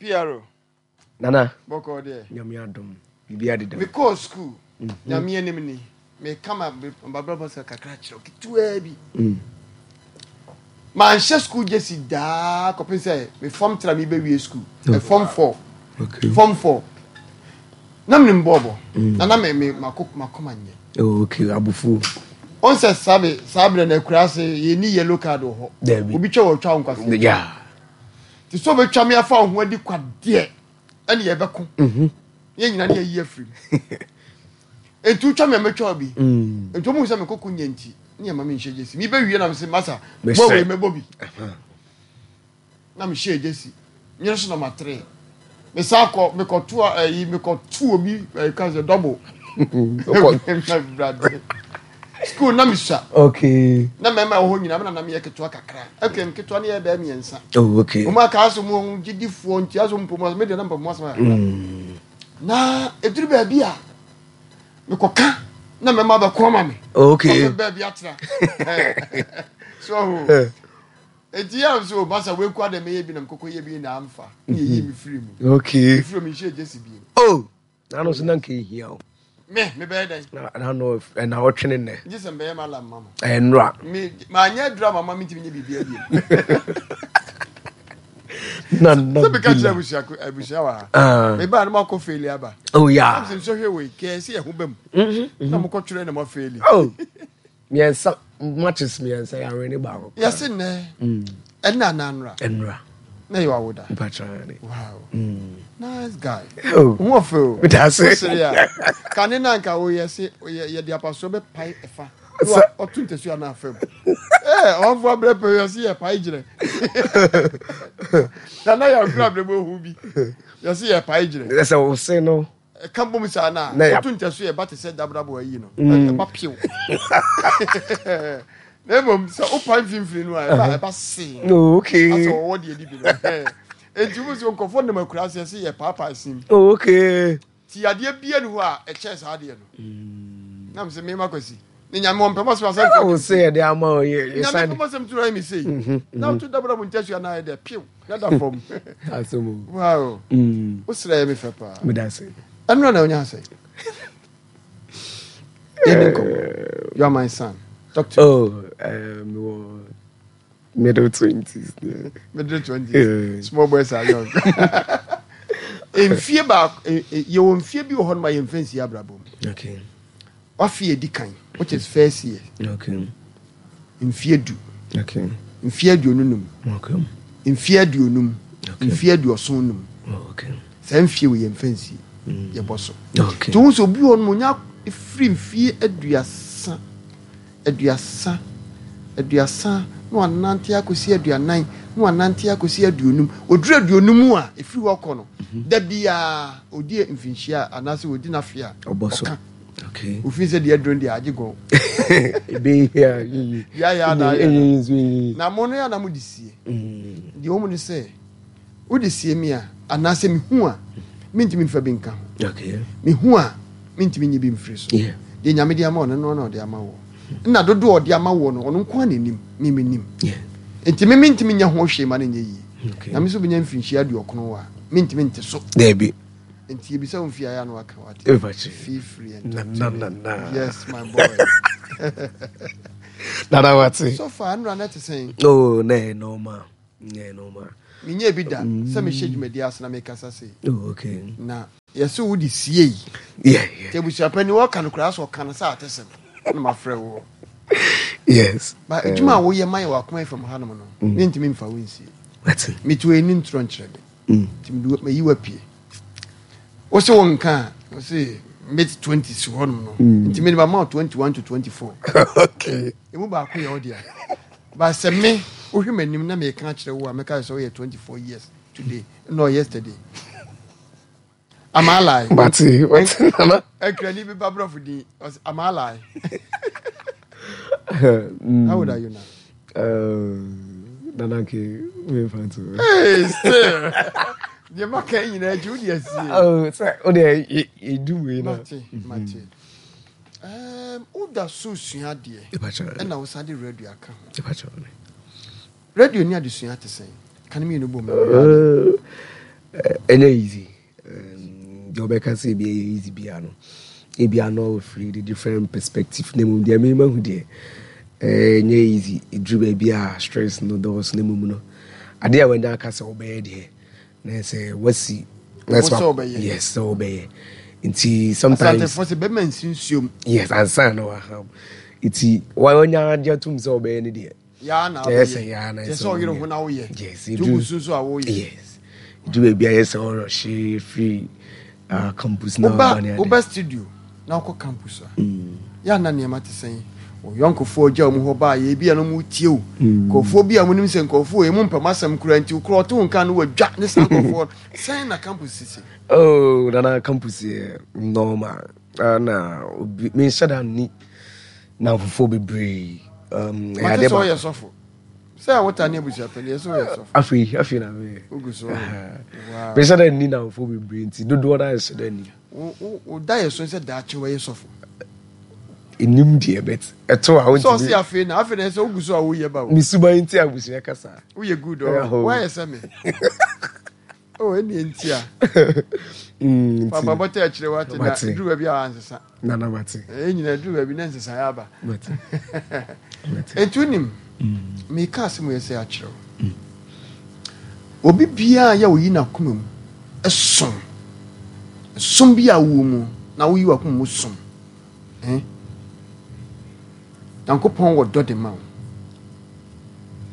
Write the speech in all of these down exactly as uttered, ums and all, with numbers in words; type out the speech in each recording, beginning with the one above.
P R O. Nana. Bɔkɔ deɛ? Nyame adom, biribi adeda. Mekɔɔ school, Nyame anim ni, meka ma mabrabɔ sɛ kakra kyerɛ wo ketewaa bi. Mm. Manhyɛ school jersey daa kɔpem sɛ me form three mebɛwie school. mm. form four. Okay. Form four na menim bɔɔbɔ na na me me mako makoma nyɛ. Oh, okay, abufuo. Ɔn sɛ saa be saa berɛ no akura ase, yɛni yellow card wɔ hɔ. Dabi. Obi twa wɔ twa wo nkwasea. Yeah. Nti sɛ wobɛtwa me afa wo ho adi kwadeɛ ɛne yɛbɛko Mhm. yɛn nyina ne yɛyi afiri mu. Enti wotwa me a, mɛtwa wo bi. Mm. Nti ɔmu sɛ mekɔkɔ nya nti ne yɛma menhyɛ jersey. Mebɛwie na mese, "Masa, Mesrɛ. bɔ wei mɛbɔ bi." Na mehyɛ jersey nyere so na matere mesa kɔ mekɔto ayi, mekɔto obi ɛyi ka sɛ double. Wokɔ- School na mesua. Okay. Na mmarima wɔ hɔ nyinaa, mena na meyɛ ketewa kakra. Okay, nketewa ne yɛ bɛɛ mmiɛnsa. Oh, okay. Wɔn aka aso mu gyidifoɔ nti aso mpɔ mu asɛm medeɛ na mpɔ mu asɛm kakra. Mm. Na ɛduru baabi a mekɔka na mmarima bɛko ama me. Okay. Ɔsɛ baabi atena so ɔho eti yɛ nso masa weku adɛ mɛyɛ bi na mekɔkɔ yɛ bi na amfa ne yɛyi mi firi mu. Okay. Mefiri mu nhyɛ jersey bi. Oh, nano so na nka ehia o. Me mebɛyɛ dɛn? Na nano ɛna ɔtwene nnɛ. Gye sɛ mbɛyɛ ma lam ma mo. Ɛyɛ nnora. Me maanyɛ aduru ama ma mentumi nyɛ biribi abiem. Nana. Sɛ meka kyerɛ Bila. abusua abusua wɔ ha. Ah. Mebaa no makɔ fail aba. Oh yeah. Sɛ nsɔhwɛ wei kɛɛ sɛ yɛho ba mu Mhm. na mokɔtwerɛ na moafail. Oh. Mmiɛnsa, matches mmiɛnsa, yɛawe ne baako. Yɛse nnɛ ɛnna ananora. Nnora. Na yɛ wawoda. Mpatra ne. Wow, nice guy. Oh. Ho ɔfɛ o. Meda ase. Wosere a kane na nka woyɛ se yɛ- yɛde apasoɔ bɛpae ɛfa. Sɛ- ɔto ntasuo ana afa mu. Ɛɛ, ɔmfo abrɛ pɛ yɛse yɛ pae gyerɛ nana yɛ akora abrɛ mu ohu bi yɛse yɛ pae gyerɛ. Sɛ wo se no. Ɛka bom saa na Na yɛ- ɔto ntasuo yɛ ba te sɛ dabrabo ayi no, ɛba pew. Na mmom sɛ wopae mfimfini no a, ɛba ɛba see. Oh, okay. Asɛ wɔwɔ deɛ di bi no. Enti wo sɛ nkɔfoɔ nam akura ase sɛ yɛ paapaa sim. Oh, okay. Ti adeɛ bia ni hɔ a ɛkyɛɛ saa adeɛ no nam sɛ mema Kwasi ne Nyame wɔmpɛ mɔsɛm asɛm. Ɛna wo se yɛde ama wo yɛ yɛ Nyame sane. pɛ mɔsɛm toro ayɛ me sei na woto dabrabo ntasua no ayɛ dɛ pew na da fam. Asɛm o. Wow. Mm. Wosrɛ yɛ me fɛ paa. Meda ase. Ɛnora na wonya sɛ yɛne nkɔmmɔ. You are my son. Talk to me. Oh, um, mewɔ middle twenties. Middle twenties. Yeah. Small boys are young. Mfie baako, eh, eh, yɛwɔ mfie bi wɔ hɔ nom a yɛmfa nsi abrabɔ mu. Okay. Wafe edi kan, which is first year. Okay. Mfie du. Okay. Mfie aduonu num. Okay. Mfie aduonum. Okay. Mfie aduɔson num. Oh, okay. Saa mfie wɔ yɛmfa nsi, yɛbɔ so. Okay. Nti wohu sɛ obi wɔ hɔ nom onya firi mfie aduasa aduasa aduasa na wanante akɔsi aduanan na wanante akɔsi aduonum, oduru aduonum a, ɛfiri hɔ kɔ no, da biaa ɔdi mfinhyia a anaasɛ ɔdi n'afe a Ɔbɔ so. ɔka. Okay. Ofin sɛ deɛ aduro no deɛ agye gɔn. Ebe ya yiyi. Deɛ ayɛ ana ayɛ. Eyi nso yiyi. Na mo no yɛ ana mode sie. Mm. Deɛ wɔ mu ne sɛ wode sie mi a, anaasɛ mehu a, mentumi mfa bi nka ho. Okay. Mehu a, mentumi nyi bi mfiri so. Yeah. Deɛ Nyame de ama wo no no na ɔde ama wo nna dodoɔ a ɔde ama wo no, ɔno nko a n'anim me menim. Yeah. Nti me mentumi nyɛ ho hwee ma no nyɛ yie. Okay. Na me nso bɛnya mfirinhyia aduɔkono a, mentumi nte so. Dabi. Nti yɛbisa wo mfie ayɛ a na waka wate. Efa kyerɛ. Feel free and Na talk to na me. na na. Yes, my boy. Nana wate. So far nnora no te sɛn? Oh, na yɛ normal. Na yɛ normal. Menyɛ bi da sɛ mehyɛ dwumadi ase na mekasa sei. Oh, okay. Na yɛsɛ wode sie yi. Yeah, yeah. Nti abusuapani wɔka no koraa sɛ ɔka no sɛ ate sɛm na mafrɛ wo. Yes. Ba adwuma a woyɛ ma yɛ wɔ Akoma F M hanom no, mentumi mfa wo nsie. Wate. Meto ani ntorɔ nkyerɛ me. Mm. Nti mede mayi wapie wo sɛ wo nka a, wo se mid twenties hɔnom no, nti mede mama wo twenty-one to twenty-four. Okay. Ɛmu baako yɛ wo dea ba. Sɛ me wohwɛ m'anim na meka kyerɛ wo a, mɛka sɛ woyɛ twenty-four years today, no, yesterday. Am I lying? Wate, wate nana. Ɛkrani bi ba borɔfo din ɔsɛ, "Am I lying?" Mm. How old are you now? Uh, nana ke me fa to. Hey, still deɛ maka yi nyinaa akyi wode asie. Oh, sɛ o de edu wei na. Mate, mate. Um, woda so sua adeɛ. Epa kyerɛ. Ɛna wo sa de radio aka ho. Epa kyerɛ. Radio ne adesua te sɛn? Ka ne mmienu bɔ mu. Uh, Ɛnyɛ easy. Um, deɛ ɔbɛka sɛ ebi ɛyɛ easy bia no, ebi ano ɔfiri the different perspective na mmom deɛ mema hu deɛ, ɛnyɛ easy. Ɛduru baabi a stress no dɔɔso, na mmom no adeɛ a wanya aka sɛ wobɛyɛ deɛ, na sɛ wasi na sɛ wobɛyɛ. Yes, sɛ wobɛyɛ. Nti sometimes Asantefoɔ sɛ bɛma nsi nsuom. Yes, ansa na waham. Nti wanya agye atom sɛ wobɛyɛ no deɛ, yaa na ɛyɛ sɛ wobɛyɛ. Yaa na kyɛ sɛ ɔyere ho na woyɛ. Yes. Nti wogu so nso a woyɛ. Yes, ɛduru baabi a yɛ sɛ ɔrɔhye firi uh, campus na woba ɔba ne ade. Woba studio na wokɔ campus a, yɛ ana nneɛma te sɛn? Ɔyɔnkofoɔ gya mu hɔ baa yɛ bi a no mu tie o, nkurɔfoɔ bi a monim sɛ nkurɔfoɔ emu mpɛm asɛm kora nti korɔ ɔte wo nka no wadwa ne saa nkurɔfoɔ sɛn na campus sisi? Oh, nana, campus yɛ normal. Ah, na obi menhyɛ da nni namfofoɔ bebree. um, ɛyɛ mate ade sɛ ɔyɛ baako. Sɔfo sɛ wota ne abusuapɛni yɛ sɛ ɔyɛ sɔfo. Afei afei na meyɛ. Wogu so. Wow. Menhyɛ da nni namfoɔ bebree, nti dodoɔ no anhyɛ da nni. Wo- wo wo da yɛ so sɛ daakye wɔyɛ sɔfo? Ɛnim deɛ, but ɛto a sɛ ɔse wontumi. Afei na afei na ɛsɛ wogu so a woyɛ ba o. Mesuban nti abusua kasa. Woyɛ good. Ɛyɛ Ɔ hɔ. woayɛ sɛ me o, ɛne nti a Mm, fa nti mpaebɔ akyerɛ wate na Mate. duru baabi a ansesa. Nana, mate. Ɛyɛ nyina duru baabi na nsesaeɛ aba. Mate, mate. Enti wonim, meka asɛm yɛ sɛ akyerɛ wo, obi biaa yɛ oyi n'akoma mu ɛsom ɛsom bi a wowɔ mu na woyi w'akoma mu som, eh? Nyankopɔn wɔ dɔ de ma wo,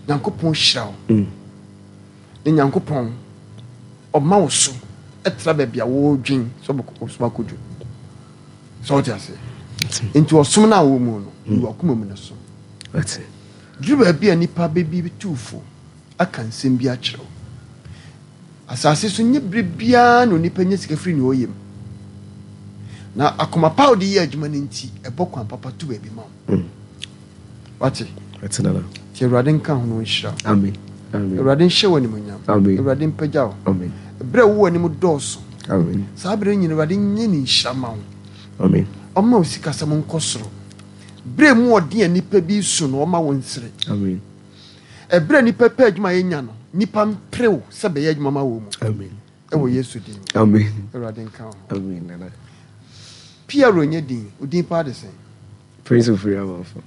Nyankopɔn hyira wo, Mm. ne Nyankopɔn ɔma wo so ɛtra baabi a wɔredwen sɛ wobɛkɔ akɔduru sɛ wote aseɛ. Nti ɔsom no a wɔ mu no, yi w'akoma mu no som. Mate. Duru baabi a nipa bɛbi tu fo aka nsɛm bi akyerɛ wo, asase so nye bere biara na onipa nya sika firi nea ɔyɛ mu, na akoma pa a wode yɛ adwuma no nti ɛbɔ kwan papa to baabi ma wo. Mm. Wate? Mate, nana. Nti Awurade nka ho no nhyira wo. Amen, amen. Awurade nhyɛ wo animonyam. Amen. Awurade mpagya wo. Amen. Berɛ a wowɔ anim dɔɔso, Amen. saa berɛ nyina Awurade nyɛ ne nhyira ma wo. Amen. Ɔma wo sikasɛm nkɔ soro. Berɛ mu ɔden a nnipa bi so no, ɔma wo nsere. Amen. Ɛberɛ a nnipa pɛ adwuma a yɛnya no, nnipa mperew sɛ bɛyɛ adwuma ma wɔ mu. Amen. Ɛwɔ Yesu din mu. Amen. Awurade nka wo ho. Amen, nana. Piero nyɛ din, wo din paa de sɛn? Prince Ofori Amanfo.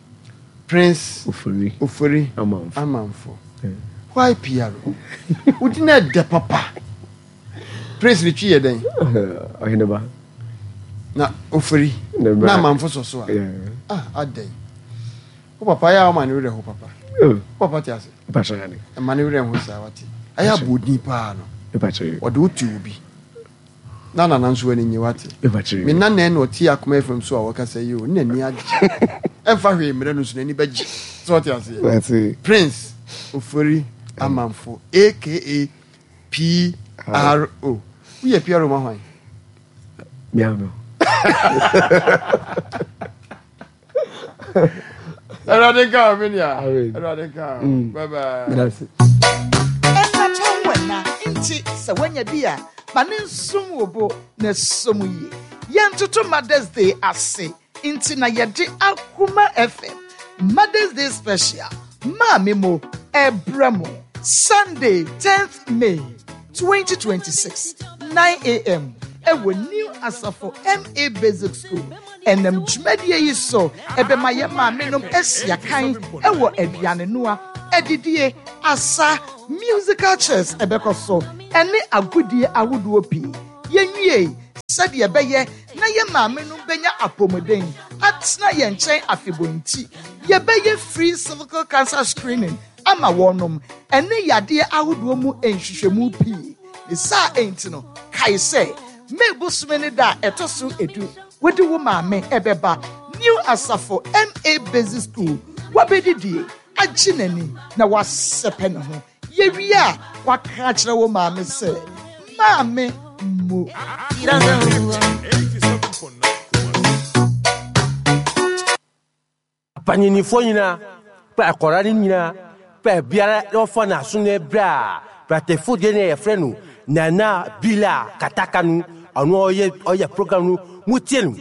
Prince Ofori Ofori Amanfo. Amanfo. Yeah. Why Piero? Wo din ɛdɛ papa. Prince ne Twi yɛ dɛn? Ɔheneba. Na Ofori Ne bra. na Amanfo sɔ so a. Yeah. Ah, adɛn, wo papa yɛ a woma ne werɛ ho papa? Oh, wo papa te ase? Mpakyɛ ane. Ɛma ne werɛ ho saa, wate? Ɛyɛ abɔ odin paa no. Mpakyɛ. Ɔde wo tu obi na nana nso ani nye, wate? Mpakyɛ. Me nana na ɔte Akoma F M so a wɔkasa yi o, ne n'ani agye, ɛmfa hwee mmerɛ no so n'ani bɛgye sɛ ɔte aseɛ. Mate. Prince Ofori Amanfo, A K A P R O. Woyɛ P R O ma hwan? Miano. Awurade nka wo, me nua. Amen. Awurade nka wo. Mm. Bye bye. Grazie. Ɛnatɔn wɔ nti sɛ woanya bi a, ma ne nsom wo bo na som yie. Yɛntoto Mothers Day ase nti na yɛde Akoma F M Mothers Day special Maame Mo ɛbrɛ mo Sunday, tenth May twenty twenty-six, nine a m ɛwɔ New Asafo M A Basic School. Ɛnam dwumadie yi so ɛbɛma yɛn maame nom asia kan ɛwɔ aduane noa, adidie, asa, musical chairs ɛbɛkɔ so ɛne agodie ahodoɔ pii. Yɛnwie sɛdeɛ ɛbɛyɛ na yɛn maame nom bɛnya apɔmuden atena yɛn nkyɛn afebɔɔ nti, yɛbɛyɛ free cervical cancer screening ama wɔnom ɛne yadeɛ ahodoɔ mu nhwehwɛmu pii. Ne saa enti no, kae sɛ May bosome ne da a ɛtɔ so edu, wode wo maame ɛbɛba New Asafo M A Basic School, wabɛdidie agye n'ani na wasɛpɛ ne ho. Yɛwie a, waka akyerɛ wo maame sɛ maame mo. Panyinifoɔ nyinaa pɛ akɔra no nyinaa pɛ biara na wɔfa n'aso no berɛ a pratefo deɛ no yɛfrɛ no Nana Bila Kataka no, ɔno ɔyɛ ɔyɛ program no mutie no.